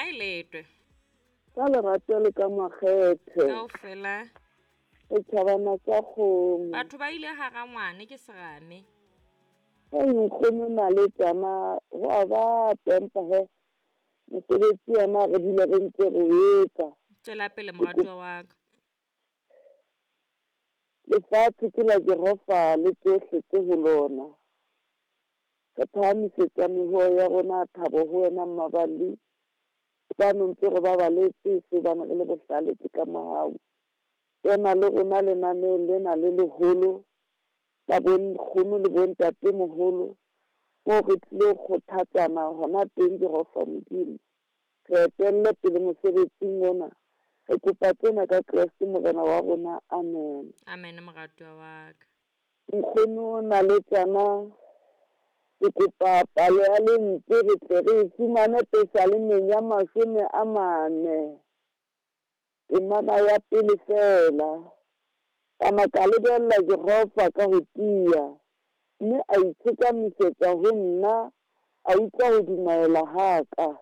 Ha e letwe. Ka lerato le ka makgethe. Kaofela. Setjhabana sa kgomo. Batho ba ile hara ngwane ke serame. Hei nkgono naletsana ho a bata empa he mosebetsi ona re dule re ntse re o etsa. Tswela pele moratuwa wa ka. Lefatshe ke la Jehova le tsohle tse ho lona. Re phahamisetsa mehoo ya rona thabo ho wena Mmaballi. Hobane o ntse re babaletse se hobane re le bohlale ke ka mohau. Kena le rona lenaneong lena le leholo la bonkgono le bontatemoholo moo re tlilo kgothatsana hona teng Jehova Modimo. Re etelle pele mosebetsing ona. Re kopa tsena ka Kreste Morena wa rona. Amen. Amen moratuwa wa ka. Nkgono naletsana ke kopa palo ya lentswe re tle re e fumane Pesalemeng ya 40. Temana ya pele feela. Ka na ka lebella Jehova ka ho tiya, mme a itshekamisetsa ho nna, a utlwa ho dumaela ha ka.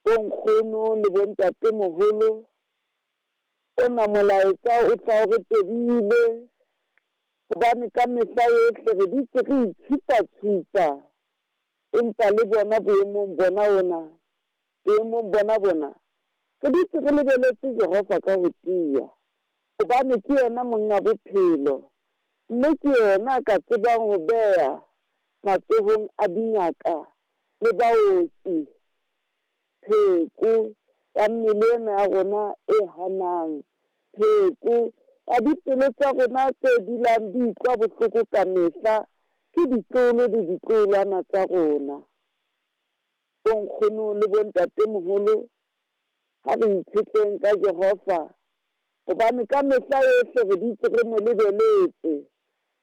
Bonkgono le bontatemoholo, ona molaetsa o tla o re tobile, hobane ka mehla yohle re dutse re itshupa-tshupa, empa le bona boemong bona ona, boemong bona bona, re dutse re lebeletse Jehova ka ho tiya, hobane ke yena monga bophelo, mme ke yena a ka tsebang ho beha matsohong a dingaka le baoki pheko ya mmele ena ya rona e hanang, pheko ya dipelo tsa rona tse dulang di utlwa bohloko ka mehla ke ditloholo le ditloholwana tsa rona. Bonkgono le bontatemoholo, ha re itshetleng ka Jehova, hobane ka mehla yohle re dutse re mo lebeletse,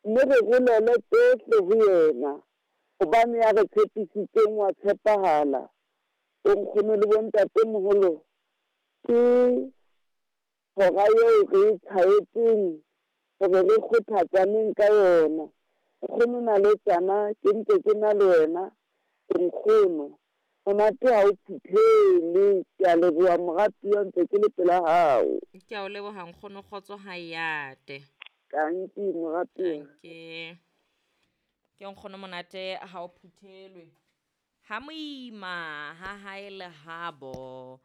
mme re rolele tsohle ho yena, hobane ya re tshepisitseng wa tshepahala. Bonkgono le bontatemoholo, ke hora eo re e tjhaetseng hore re kgothatsaneng ka yona. Nkgono naletsana ke ntse ke na le wena, nkgono monate ha o phuthele. Ke a leboha moratuwa, ntse ke le pela hao. Ke a o leboha nkgono, kgotso ha e ate. Tanki moratuwa. Tanki. Ke nkgono monate ha o phuthelwe. Ha moima ha hae le habo.